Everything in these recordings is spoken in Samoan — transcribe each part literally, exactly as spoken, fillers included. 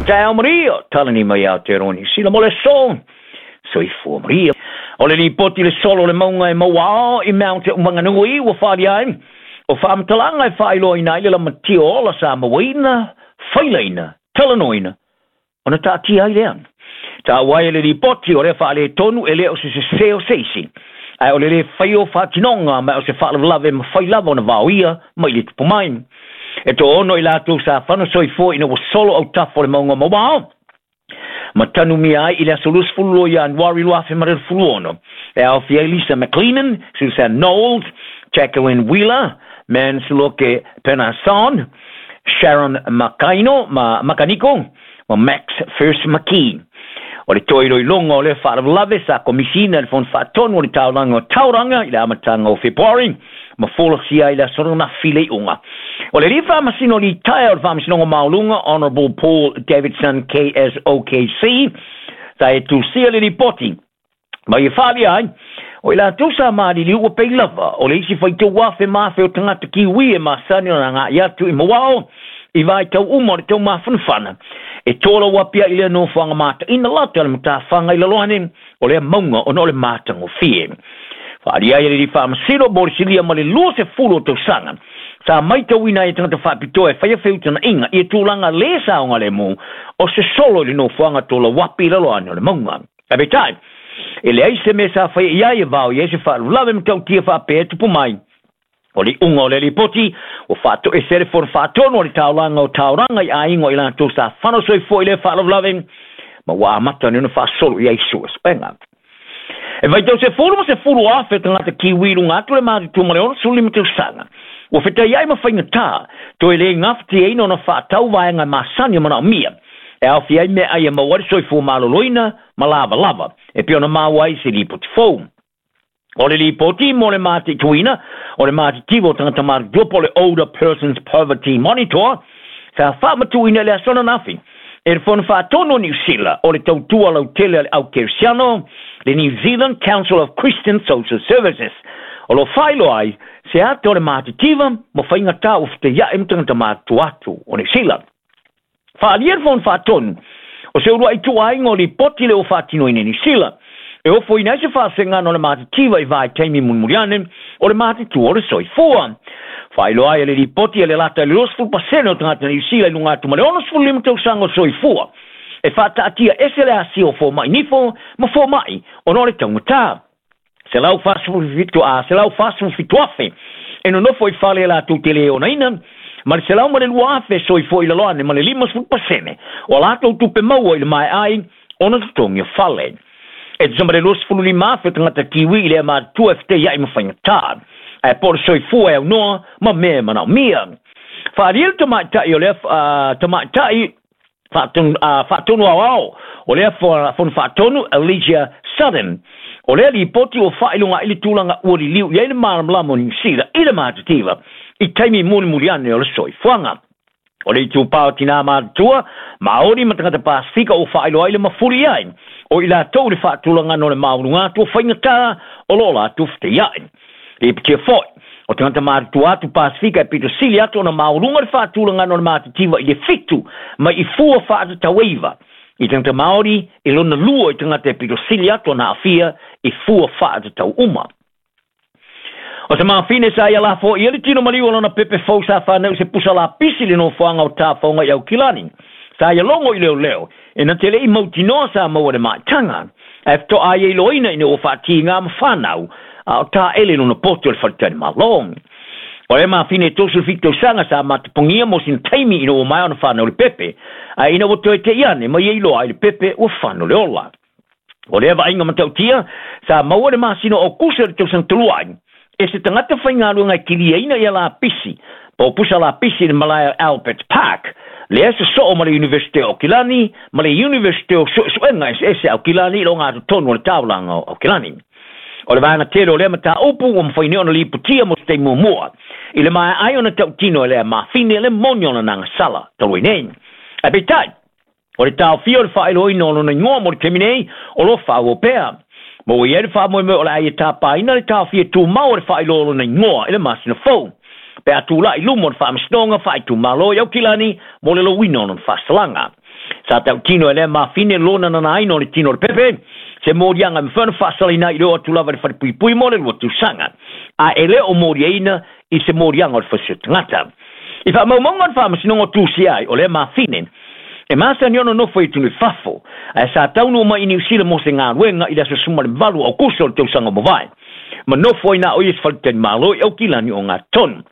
Tao Maria, talani mai Aotearoa Niu Sila mo le aso. Soifua Maria. O le lipoti le solo o le mauga e Mauao i Mount Maunganui ua faaalia ai o faamatalaga e faailoaina ai le lamatia o ola sa mauaina, failaina, talanoaina, ona taatia ai lea. Taua ai e le lipoti o lea faaletonu e le o se sesē o se isi, ae o le lē faia o faatinoga ma o se faalavelave e mafai lava ona vaoia mai le tupu mai. E toaono i latou sa fano soifua ina ua solo autafa o le mauga o Mauao ma tanumia ai i le aso luasefulu lua Ianuari lua afe ma le sefulu ono. E aofia ai Lisa McLennan, Susan Knowles, Jacqueline Wheeler, Mansloke Penason, Sharon Makaino, ma Makaniko, ma Max First McKee. O le toe iloiloga o lea faalavelave sa komisiina e le Fono Faatonu o le Taulaga o Tauranga i le amataga o Fepuari ma folasia ai le aso ananafi le iuga. O le alii faamasino litaea o le Faamasinoga Maualuga, Honourable Paul Davidson K S O K C, sa e tusia le lipoti ma ia faaalia ai o i latou sa maliliu ua pei lava o le isi faitau afe ma afe o tagata Kiwi e masani ona agai atu i Mauao i vaitau uma o le taumafanafana e tolau apia i lea nofoaga mataina lata le matafaga i lalo ane o lea mauga ona o le matagofie. Faaalia ai e le alii faamasino mo le silia ma le luasefulu o tausaga sa maitauina ai e tagata faapitoa e faia feutagaiga ia tulaga lē saogalemu o se solo i le nofoaga tolauapi i lalo ane o le mauga. Ae peitai, e leai se mea sa faia i ai e vao i ai se faalavelave matautia faapea e tupu mai. O le iuga o le lipoti ua faatoese le Fono Faatonu o le Taulaga o Tauranga i aiga o i latou sa fano soifua i lea faalavelave ma ua amata nei ona faasolo i ai suesuega. E vaitau sefulu ma sefulu afe tagata Kiwi i luga atu le matutua ma le onosefulu lima tausaga ua fetaiai ma faigata toe le gafatiaina ona faatau vaega e masani o manaomia e aofia ai meaai e maua ai le soifua maloloina ma lavalava e pei ona maua ai se lipoti fou. O le lipoti mo le mataituina o le matitiva o tagata matutua po o le Older Persons Poverty Monitor sa faamatuuina i le aso ananafi e le Fono Faatonu o Niu Sila o le tautua lautele a le au Kerisiano, le New Zealand Council of Christian Social Services, o lo o faailoa ai se ata o le matitiva ma faigata ua fetaiai ma tagata matutua atu o Niu Sila. Faaalia le Fono Faatonu o se uluai tuuaiga o lipoti le ua faatinoina i Niu Sila e ofoina ai se faasegana o le matitiva i vaitaimi mulimuli ane o le matitua o le soifua. Faailoa ai e le lipoti e le lata i le luasefulu pasene o tagata Niu Sila i luga atu ma le onosefulu lima tausaga o soifua e faataatia ese le asia o fomai nifo ma fomai ona o le taugata. Selau fasefulu fitu a selau fasefulu fitu afe e nonofo i fale e latou te le onaina ma le selau ma le lua afe soifua i lalo ane ma le limasefulu pasene o a latou tupe maua i le maeai ona totogi o fale. E tusa ma le luasefulu lima afe o tagata Kiwi i lea matutua e fetaiai ma faigata ae po o le soifua e aunoa ma mea e manaomia. Faaalia le tamaitai o lea uh, tamaitai faatonu aoao o lea Fono Faatonu Alicia Sutton o lea lipoti ua faailoga ai le tulaga ua liliu i ai le malamalama o Niu Sila i le matitiva i taimi mulimuli ane o le soifuaga. O le itupa o tinā matutua, Māori ma tagata Pasifika ua faailoa ai le mafuli ai o i latou le faatulagana o le maualuga atu o faigata o lo o latou fetaiai. Lipotia foi o tagata matutua atu Pasifika e pito sili atu ona maualuga le faatulagana o le matitiva i le fitu mai i fua faatataueiva i tagata Māori e lona lua i tagata e pito sili atu ona aafia i fua faatatau uma. O se mafine sa ia lafo ia le tino maliu o lona pepe fou sa whanau se pusa lapisi le nofoaga o tāwhaunga i Aukilani. Sa ia logo i leo leo, e na te lei mautinoa sa maua le maitaga. Ae fetoa ai e iloina ina ua faatiga ma whanau, a o tā ele lona poto o le whaletali malo. O le mafine e tosu fitu tausaga sa matapongia mo sina taimi ina ua mai ona whanau le pepe, a ina ua toe te iane mai e iloa ai le pepe ua whanau le ola. O lea vaaiga matautia sa maua le masina o Kusa o le tausaga talu ai, e se tagata faigaluega e kiliaina ia lapisi, po o pusa lapisi i le malae o Albert Park, lea se soo ma le Universite o Aukilani, ma le Universite o Suesuega eseese Aukilani i lo ngatotonu o le taulaga o Aukilani. O le vaega tele o lea mataupu ua mafai nei ona lipotia mo se taimi muamua i le maeai ona tautino e lea mafine le moni o lona agasala talu ai nei. Ae peitai, o le taofia o le faailoaina o lona igoa mo le taimi nei o lo o faaauau pea. Ma ua i ai le faamoemoe o le ai e tapaina le taofia tumau o le faailoa o lona igoa i le masina fou pe a tulai i luma o le faamasinoga faaitumalo i Aukilani mo le louina o lona faasalaga. Sa tautino e lea mafine lona nanaina o le tino o le pepe, se moliaga e mafai ona faasalaina ai i le oo atu lava i le falepuipui mo le lua tausaga, a e le o moliaina i se moliaga o le fasi o tagata. I faamaumauga o le faamasinoga o tusia ai o lea mafine, e masani ona nofo i atunuu i fafo, ae sa taunuu mai i Niu Sila mo se galuega i le aso sefulu ma le valu o Aukuso o le tausaga ua mavae, ma nofo ai na o ia i se faletalimalo i Aukilani o Gatonu.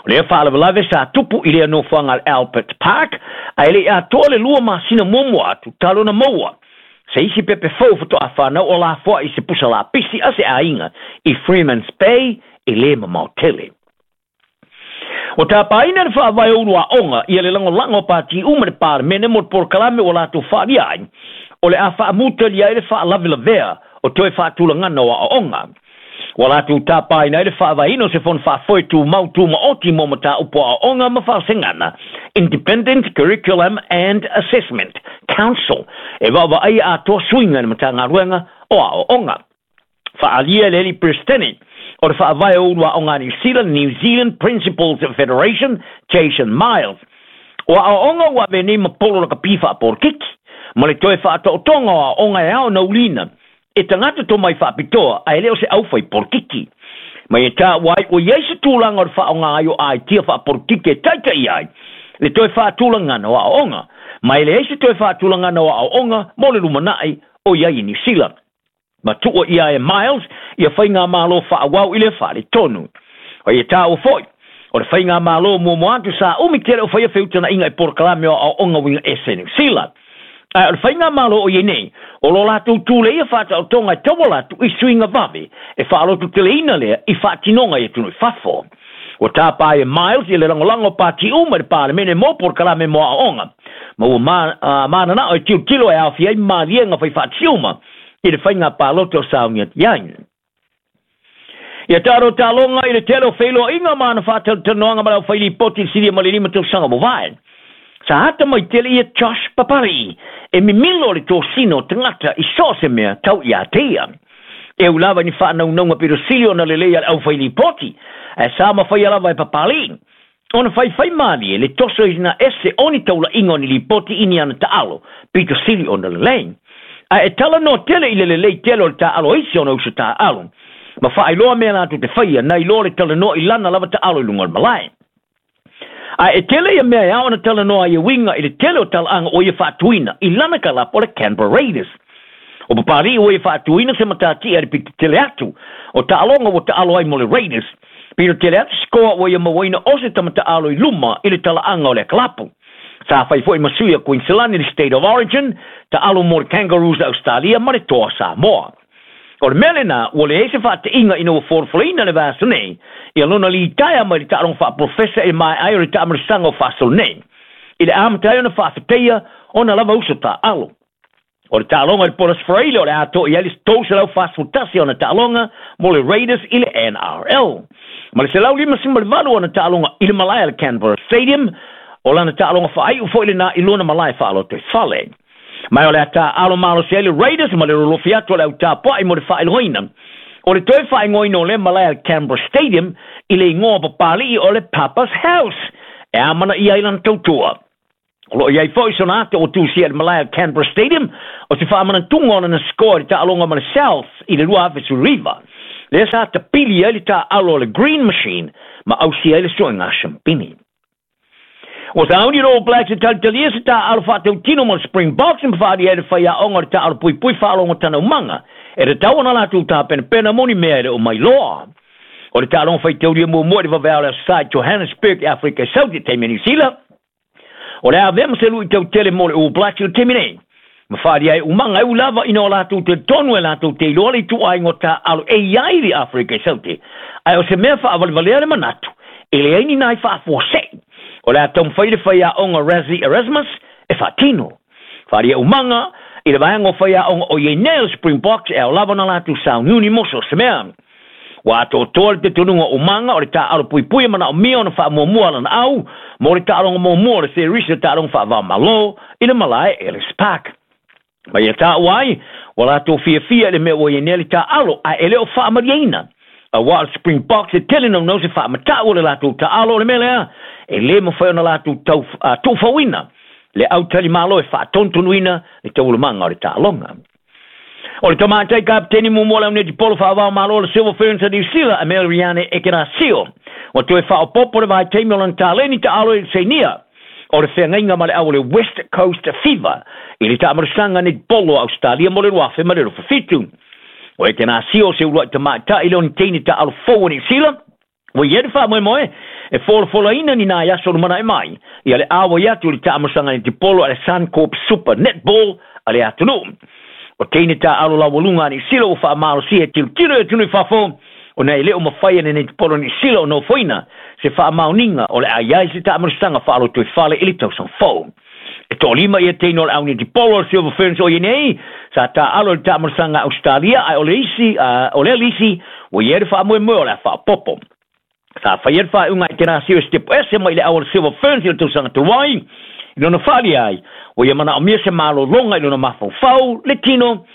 O lea faalavelave sa tupu i lea nofoaga a le Albert Park, ae le i atoa le lua masina muamua atu talu ona maua se isi pepe fou faatoa fanau o lafoai i se pusa lapisi a se aiga i Freemans Bay e lē mamao tele. Ua tapaina le faavae o ulu aoga ia le lagolago a pati uma i le Palemene mo le polokalame ua latou faaalia ai, o le a faamutalia ai le faalavelavea o toe faatulagana o aoaoga. Ua latou tapaina ai le faavaeina o se fono faafoe tumau tumaoti mo mataupu o aoaoga ma faasegana, Independent Curriculum and Assessment Council, e vaavaaia atoa suiga i le Matagaluega o Aoaoga. Faaalia e le alii Peresetene o le faavae o ulu aoga a Niu Sila, New Zealand Principals Federation, Jason Miles, o aoaoga ua avea nei ma polo lakapi faapolokiki, ma le toe faataotoga o aoaoga e ao ona ulina e tagata tomai faapitoa ae le o se aufai polokiki. Ma ia taua ai ua i ai se tulaga o le faaaoga ai o aitia faapolokiki e taitaia ai le toe faatulagana o aoaoga, ma e leai se toe faatulagana o aoaoga mo le lumanai o i ai i Niu Sila. Ma tuua ʻia e Miles ia faigamalo faaauau i le faaletonu. O ia taua foi, o le faigamalo muamua atu sa umi tele o faia feutagaiga i polokalame o aoaoga uiga ese i Niu Sila. Ae o le faigamalo o i ai nei, o lo latou tuleia faataotoga e tauala atu i suiga vave e faalototeleina lea i faatinoga i atunuu i fafo. Ua tapa ai e Miles i le lagolago o pati uma i le Palemene mo polokalame mo aoaoga, ma ua mananao e tilotilo e aofia ai maliega faifaatasi uma i le faiga palota o sauni atu i ai. Ia talo taloga i le tele o feiloaiga ma ana faatalatalanoaga ma le aufailipoti i le silia ma le lima tausaga ua mavae. Sa ata mai tele ia Josh Papali'i e mimilo le tosina o tagata i so o se mea tau ia te ia. E ui lava i ni faanaunauga pito sili ona lelei a le aufailipoti, ae sa mafaia lava e Papali'i ona faifai malie le toso ina ese o ni taulaiga o ni lipoti i ni ana taalo pito sili ona lelei. Ae e talanoa tele i le lelei tele o le taaalo a isi ona uso taaalo, ma faailoa mea latou te faia nai loa le talanoa i lana lava taalo i luga o le malae. Ae e tele ia mea e ao ona talanoa ai e uiga i le tele o talaaga ua ia faatuina i lana kalapu o le Canberra Raiders. O Papali'i ua ia faatuina se matatia i le pito tele atu o taaloga ua taalo ai mo le Raiders, pito tele atu sikoa ua ia mauaina o se tama taaalo i luma i le talaaga o lea kalapu. Sa fai foi ma sui a Queensland i le State of Origin, taalo mo le Kangaroos a Australia ma le Toa Samoa. O le mea lena, ua leai se faateiga ina ua folafolaina le vaiaso nei ia lona litaea mai le taaloga faapolofesa i le maea ai o le taamailosaga o faasolo nei, i le amata ai ona faafetaia ona lava uso taaalo. O le taaloga i le Port Australia o le a atoa i ai le tolu selau fasefulu tasi ona taaloga mo le Raiders i le N R L. Ma le selau limasefulu ma le valu ona taaloga i le malae a le Canberra Stadium, o lana taaloga faaiu foi lena i lona malae faalotoifale. Ma o le a taaalo malosi ai le Raiders ma le lolofi atu o le au tapuai mo le faailogaina o le toe faaigoaina o lea malae a le Canberra Stadium i le igoa o Papali'i o le Papa's House e amanaia ai lana tautua. O lo o i ai foi sona ata ua tusia i le malae a le Canberra Stadium o se faamanatuga o lana score i le taaloga ma le South i le lua afe sefulu iva, lea sa tapili ai le taaalo a le Green Machine ma ausia ai le suega shampini. Ua sauni le All Blacks e talitalia se taaalo faatautino ma le Springboks ma faaalia ai le faiaoga o le taaalo puipui faalogo tanaumaga e tatau ona latou tapenapena mo ni mea e le o mailoa. O le taaloga faitaulia muamua i le vaveao o le Aso Sa i Johannesburg i Afrika i Sauti i taimi a Niu Sila, o le a avea ma se luitau tele mo le All Blacks i le taimi nei, ma faaalia ai umaga e ui lava ina o latou talitonu e latou te iloa le ituaiga o taaalo e i ai i le Afrika i Sauti, ae o se mea faavalevalea le manatu e leai ni nai faafuasei o le a taumafai le faiaoga Rassie Erasmus e faatino. Faaalia umaga i le vaega o faiaoga o i ai nei o le Springboks e ao lava ona latou sauniuni mo so o se mea. Ua atoatoa le talitonuga o umaga o le taaalo puipui e manaomia ona faamuamua lana au mo le taaloga muamua o le series o taaloga faava-o-Malo i le malae Ellis Park. Ma ia taua ai, ua latou fiafia i le mea ua i ai nei le taaalo ae e le o faamalieina. Aua o le Springboks e tele naunau se faamatau o le latou taaalo o le mea lea e lē mafai ona latou tau tuufauina Le autalimalo e faatonutonuina le taualumaga o le taaloga. O le tamatai kapeteni muamua o le aunetipolo faavao malo le Silver Ferns a Niu Sila, Ameliareane Ekenasio, ua toe faaopoopo le vaitaimi o lana taleni taalo i le Sainia o le feagaiga ma le au o le West Coast Fever i le taamalosaga netipolo a Ausetalia mo le luafe ma le luafitu. O Ekenasio se uluai tamaitai lea o ni teine taaalo fou a Niu Sila ua i ai le faamoemoe e folafolaina ni nai aso lumanaʻi mai ia le auai atu i le taamalosaga netipolo a le Suncorp Super Netball a le atunuu. O teine taaalo laualuga a Niu Sila ua faamalosia e tilotilo i atunuu i fafo, ona e le o mafai e le netipolo Niu Sila o nofoina se faamaoniga o le a i ai se taamalosaga faalotoifale i le tausaga fou. E toalima ia teine o le au netipolo o le Silver Ferns o ia nei sa taaalo i le taamalosaga a Ausetalia, ae o le isi o lea lisi ua i ai le faamoemoe o le a faaopoopo. Sa faia le faaiuga a Ekenasio e sitepu ese mai i le au o le Silver Ferns i le tausaga talu ai, i lona faalia ai ua ia manaomia se malologa i lona mafaufau, le tino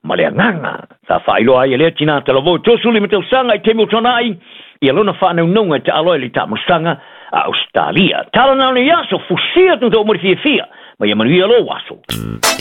ma le agaga. Sa faailoa ai e lea tinā talavou tolusefulu lima tausaga i taimi o tuanai ia lona faanaunauga e taalo ai i le taamalosaga a Ausetalia. Tala na o nei aso, fusia tūtau mo le fiafia, ma ia manuia lou aso.